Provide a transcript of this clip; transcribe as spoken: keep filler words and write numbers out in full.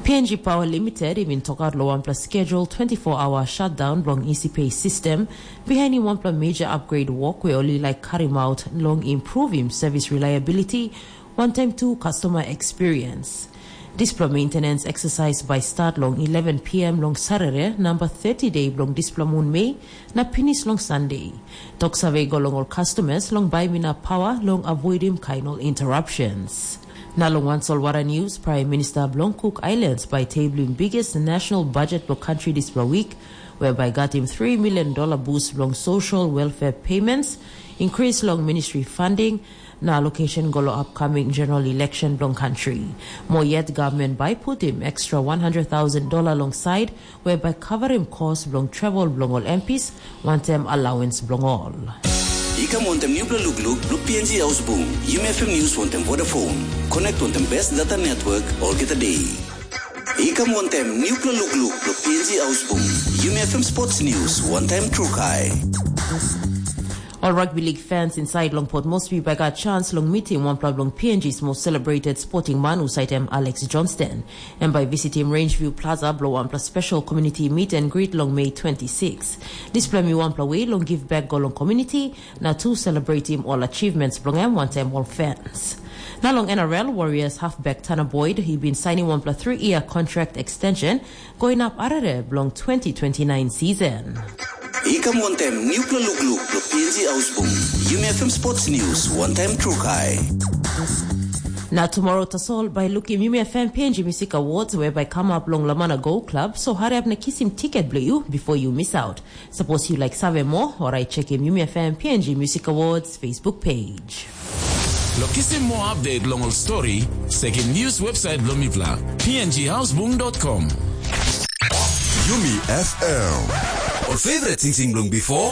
P N G Power Limited i bin tokaut long wanpela schedule twenty-four hour shutdown bilong E C P system, bihainim wanpela major upgrade work we ol i laik karim out long improvim service reliability, wantaim tu customer experience. Dispela maintenance exercise bai start long eleven p m long Saturday, number thirty day bilong dispela mun Mei, na pinis long Sunday. Tok save go long ol customers long baim inap power long avoidim kain ol interruptions. Na long wan solwara news, Prime Minister bilong Cook Islands bai tablim biggest national budget bilong country dispela week, whereby gatim three million dollar boost bilong social welfare payments, increase long ministry funding, na allocation go long upcoming general election bilong country. Mo yet government bai putim extra one hundred thousand dollar long side, whereby covering cost bilong travel bilong ol M Ps, wantaim allowance bilong ol. I kam wantaim nupela lukluk bilong P N G Haus Bung, Yumi F M News wantaim Vodafone. Connect wantaim best data network olgeta day. I kam wantaim nupela lukluk bilong P N G Haus Bung, Yumi F M Sports News wantaim Trukai. Ol rugby league fans inside long Port Moresby bai gat chance long meeting wanpela bilong P N G's most celebrated sporting man, husaitem Alex Johnston. Em bai visitim Rangeview Plaza bilong wanpela special community meet and greet long Mei twenty-six. Dispela mi wanpela way long give back go long community, na tu celebratim ol achievements bilong em wantaim ol fans. Na long N R L, Warriors halfback Tanner Boyd, he been signing wanpela three-year contract extension, going up arere bilong twenty twenty-nine season. I kam wantaim nupela lukluk bilong P N G Haus Bung, Yumi F M Sports News wantaim Trukai. Na tomorrow tasol bai lukim Yumi F M P N G Music Awards, whereby come up long Lamana Go Club, so hurry up na kisim ticket bilong you before you miss out. Suppose you like save more, or I check him Yumi F M P N G Music Awards Facebook page. Lo kisim more update long ol story, sekim news website bilong mipela, P N G houseboom dot com. Yumi F M. Ol favorite sing sing bilong before?